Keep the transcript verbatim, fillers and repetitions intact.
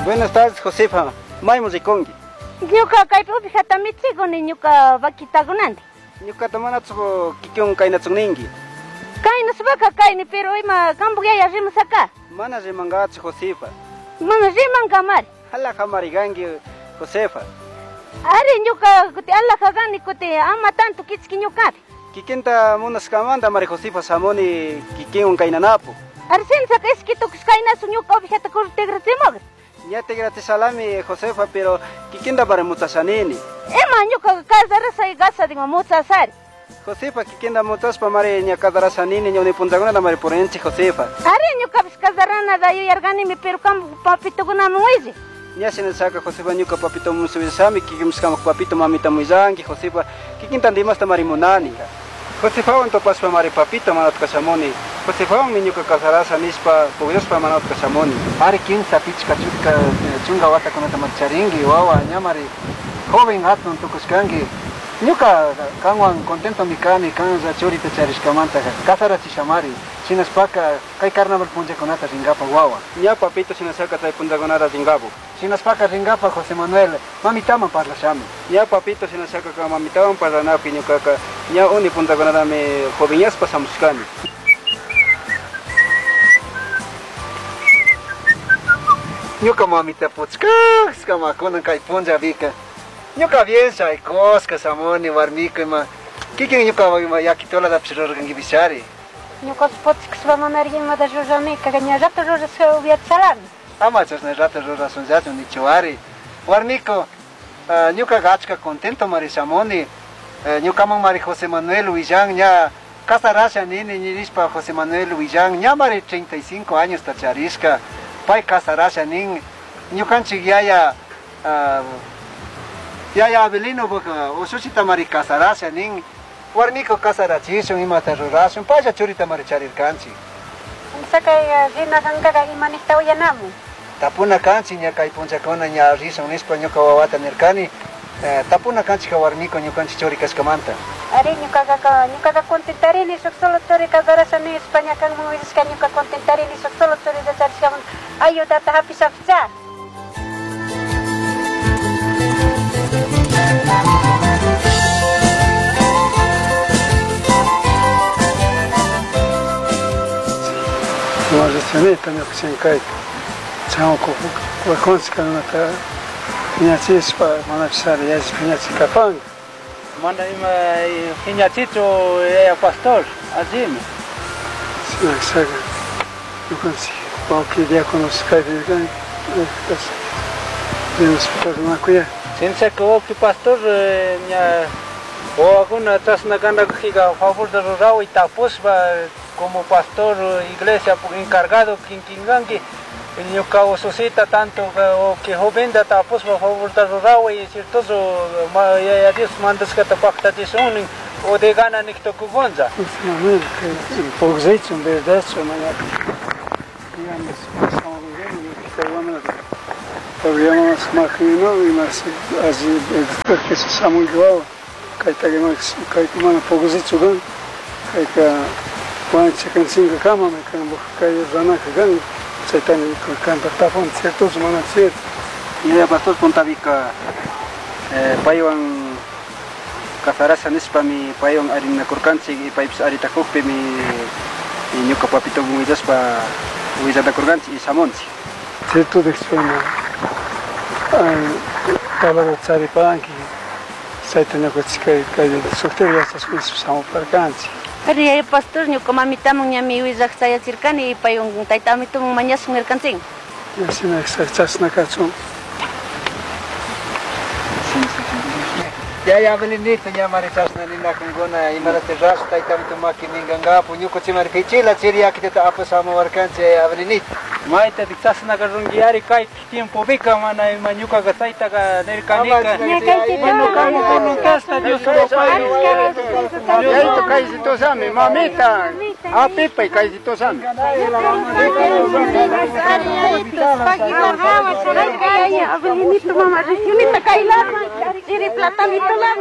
Buenas tardes, Josefa. Maymu rikunki. Ñuka kaypi ovejata michikuni ñuka vaquitakunanti. Ñukata manatsu kikin kaynatsun ninki. Kaynaspaqa kayni, pero ima qampak yaya rimasaka. Mana rimankachu, Josefa. Mana rimankamari. Alhaja kanki, Josefa. Ari ñuka kuti alhaja kani kuti ama tanto kichki ñukapi. Kikinta munashkamanta mari Josefa shamuni kikinwan kaynanapu. Ari shinashaka ishki tukush kaynasu ñuka ovejata tigrachimukri. Ña tigrachishalami, Josefa, pero kikinta mari muchashanini. Ima ñuka casarasha casadinwan muchashari. Josefa, kikinta muchashpa mari ña casarashanini ña punllakunata mari purinchik, Josefa. Ari ñukapish casaranata yuyarkanimi, pero qampak papitukunaman willay. Ña shinashaka, Josefa, ñuka papito willashami, kikinpish qampak papito mamita willanki, Josefa, kikinta dimasta mari munani. Josefawan tupashpa mari papito manatka shamuni. Josefawanmi ñuka casarasha nishpa pukllashpa manatka shamuni. Ari kimsa pichka chunka chunka watakunata mari charinki, wawa ña mari joven hatun tukushkanki. Ñuka kanwan contentomi kani kanlla churita charishkamanta casarachishamari. Shinashpaka kay carnaval punllakunata rinkapak wawa. Ña papito shinashaka chay punllakunata rinkapu. Shinashpaka rinkapak José Manuel mamitaman parlashami. Ña papito shinashaka ka mamitawan parlanapi ñukaka ña uni punllakunatami jovenyashpa shamushkani. Ñuka mamita puchkashka kunan kay punllapika. Ñuka bien shaykushka shamuni warmiku ima kikin ñuka ima yakitulatapish rurarkankipishari. Ñukapish puchkashpa manari imata ruranika, ña rato rurashka upiachalami. Ama chashna rato rurashunllachu nichuari. Warmiku, ñukaqa achka contento mari shamuni. Ñukaman mari José Manuel willan ña casarasha nini nishpa José Manuel willan ña mari treinta y cinco años ta charishka. Pay casarasha nin ñukanchik yaya yaya Abelino ushushita mari casarasha nin warmiku casarachishun imata rurashun paylla churita mari charirkanchik. Sakay rina kankaqa imanikta uyanamun. Tapuna kanchik ña kay punllakuna ña rishun nishpa ñuka wawata nirkani. Tapuna kanchik warmiku ñukanchik churi kashkamanta. Ari ñukaqa ñukaqa contentarini shuk solo churi casarasha nishpa ña kanman willashka ñuka contentarini shuk solo churita charishkamanta ayudata hapishapicha. Marishanita ñuka kayta chanko wakunchik kanata phiñachishpa manapishari yalli phiñachikapanka. Mana ima phiñachichu yaya pastor, allimi. Shinashaka ñukanchik wawqi diáconos kaypi kan rimashpa parlanakuyari. Shinashaka wawqi pastor ña wawakuna chashna kanakujika favorta ruraway tapushpa como pastor iglesia encargado kinkinkanki ñuka ususita tanto que joventa tapushpa favorta ruraway ciertoso yaya Dios mandashkata paktachishun o de gana niktukukunlla. Pukllachun verdadchu mañaka digamos programas makino imashi alli shamunki wawa kaytaka kayka mana pukllachu kan kayka wanchikanchinkakama kanpak kay ranaka kan chaytami kanta tapun ciertochu mana cierto. Yaya pastor puntapika paywan casarasha nishpami paywan arinakurkanchik y paypish aritakukpimi ñuka papitowan willashpa willanakurkanchik y shamunchik. Cierto dikchuna palabra charipanki chayta ñukanchik kay kay sukta yachashpa shamuparkanchik. Ari yaya pastor ñuka mamitaman ñami willaq chayachirkani y paywan tayta amituman mañashun nirkanchik. Shina chashna kachun. Yaya Abelinito ña mari chashna ninakunkuna imarata rash tayta amito maki ninkankapu ñukanchik mari pichila chiri yakitata apashamuwarkanchik yaya Abelinito. Maytatik chashnaka runkiyari kay tiempopika mana ima ñukaqa chaytaqa nirkanika. Bueno, kay voluntadta Dios pay. Yayito kaysitosami, mamita. Apipay kaysitosami. Abelinito mama, regionita kaylaman, chiri platanito.